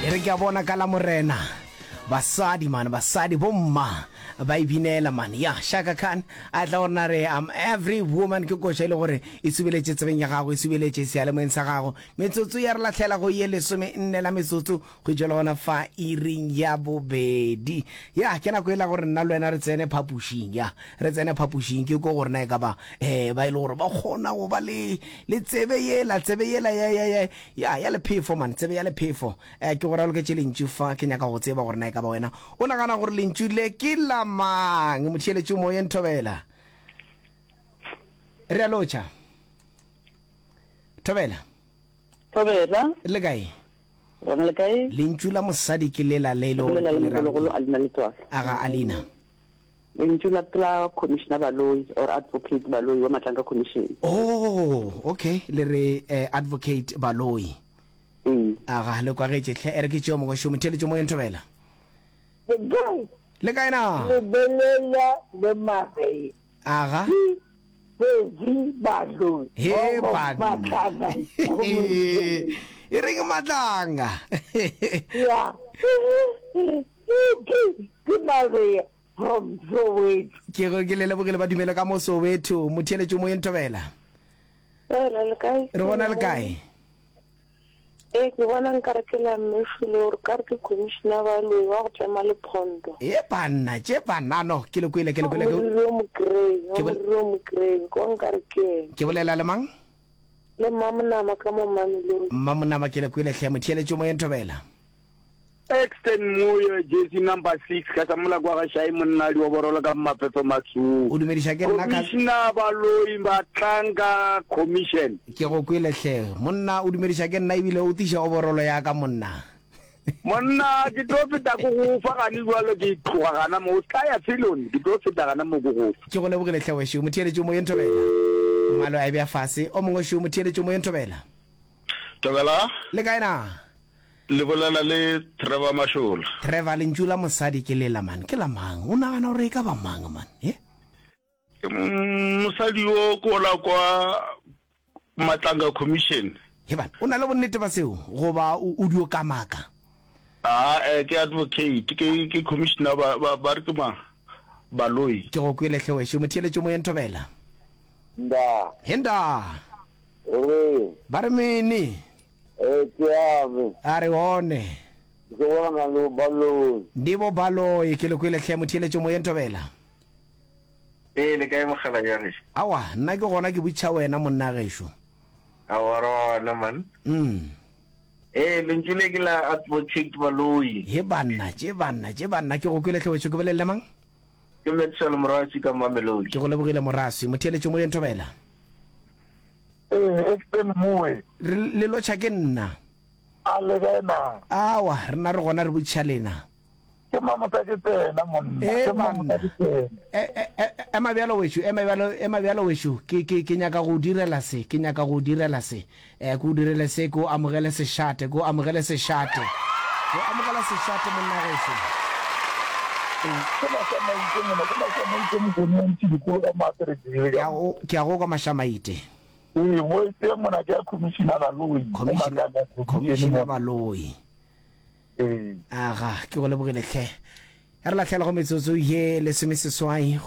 E re ke a bona ka la morena basadi man basadi bomma ba e binela man ya Shaka Khan a tla gore na re I'm every woman ke koša e le gore e subeletše tsebeng ya gago e subeletše seyalemoyeng sa gago metsotso ya re lahlela go ye lesome nne la metsotso go tšwela gona fa iring ya bobedi. Ya, ke nako e la gore nna le wena re tsene phapošing. Ya, re tsene phapošing, ke ko gore na e ka ba eh, ba e le gore ba kgona go ba le, le tsebe yela, tsebe yela ya, ya, ya, ya, ya lephefo, man, tsebe ya lephefo. Eh, ke go raloketše lentšu fa, ke nyaka go tseba gore na e ka ba wena o nagana gore lentšu le ke la mang. Motheeletši o moyeng, Thobela. Re a lotšha. Thobela. Thobela. Le kae? Gona le kae? Lentšu la mosadi ke lela le e le gore Lela ke le le ra mogologolo a lena letswalo. Aga Alina. Lentšu la ke la Commissioner Baloyi or Advocate Baloyi wa Matlanka Commission. Oh, okay, le re eh, Advocate Baloyi. Ee. Aga, le kwagetše hle. E re ke tšeo mongwe šo, motheeletši moyeng Thobela. Le kae? Le kae na? Lebelela le Maria. Aga. Pedi baloi. He banna. E reng matlanga. Ya. Ke Maria from Soweto. Ke go ke le lebogile ba dumele ka mo Soweto. Motheeletši moyeng Thobela. Thobela le kae? Re bona le kae? Ee, ke bona nkare ke la Mme Shule gore kare ke commissioner Baloyi wa go tlema lephondo. E banna, tše banna, no, ke le kwele, ke le kwele. Wa moriri o mo grey, wa moriri o mo grey, kwa nkare ke yena. Ke bolela le mang? Le Mmamonama ka mo Mamelodi. Mmamonama, ke le kwele hle, motheeletši o moyeng Thobela. Exton Moyo, jersey number 6, ka sa mola kwa ga Shai monna dioborolo ka mafefe masuu. O dumediša ke nna ka. Commissioner Baloyi Batlanka Commission. Ke go kwele hle. Monna o dumediša ke nna ebile o tiša oborolo ya ka monna. Monna ke tlo feta ko go fa gane jwalo ke tloga gana mo o ska ya felon ke tlo feta gana mo ko go fa. Ke go lebogile hle wešo motheeletši o moyeng thobela. Mmalo a e bea fase. O mongwe šo motheeletši o moyeng thobela. Thobela. Le kae na? Le bolela le Trevor Mashola. Trevor, lentšu la mosadi ke lela man, ke la mang? O nagana gore e ka ba mang man? He? Mosadi yo ke ola kwa Matlanga Commission. He bana, o na le bonnete ba seo goba o dio kamaka? Aa, eh, ke advocate, ke ke commissioner ba ba ba re ke mang? Baloyi. Ke go kwele hle wešo, motheeletši o moyeng Thobela. Ndaa. He ndaa. Re. Ba re mene. Ee, ke ame. A re one. Ke bona le Baloi. Ndi bo Baloi, ke le kwele hle motheeletši moyeng Thobela. Ee, le kae mogala ya gešo? Aowa, nna ke gona ke botšiša wena monna gešo. Aowa, re gona man. Mm. Ee, lentšu le ke la Advocate Baloi. He banna, tše banna, tše banna, ke go kwele hle wešo, ke bolelele mang? Ke Maxwell Moraswi ka Mamelodi. Ke go lebogile Moraswi. Motheeletši moyeng Thobela. Ee, Exton Moe. Re le lotšha ke nna. A le kae na? Awa, rena re gona re botšiša lena. Ke mamosa ke tsena monna. Ee, Ke mamosa banna. ke tsena. E, e, e, ema bjalo wešo, ema bjalo, ema bjalo wešo. Ke, ke, ke nyaka go o direla se, ke nyaka go o direla se. Eh, ke o direle se, ke o amogele sešate, ke o amogele sešate. Ke o amogela sešate monna gešo. Ee, ke Mašamaite monna, ke Mašamaite Mokone wa Ntšhidikolo ka Maaterekile Ke a go, ke a go kwa Mašamaite. Ee, voice ye mona ke ya Commissioner Baloyi, mo Commissioner, Matlakane Commission Commissioner mona. Baloyi. Ee. Aga, ke go lebogile hle. Re lahlela go metsotso ye lesomeseswai.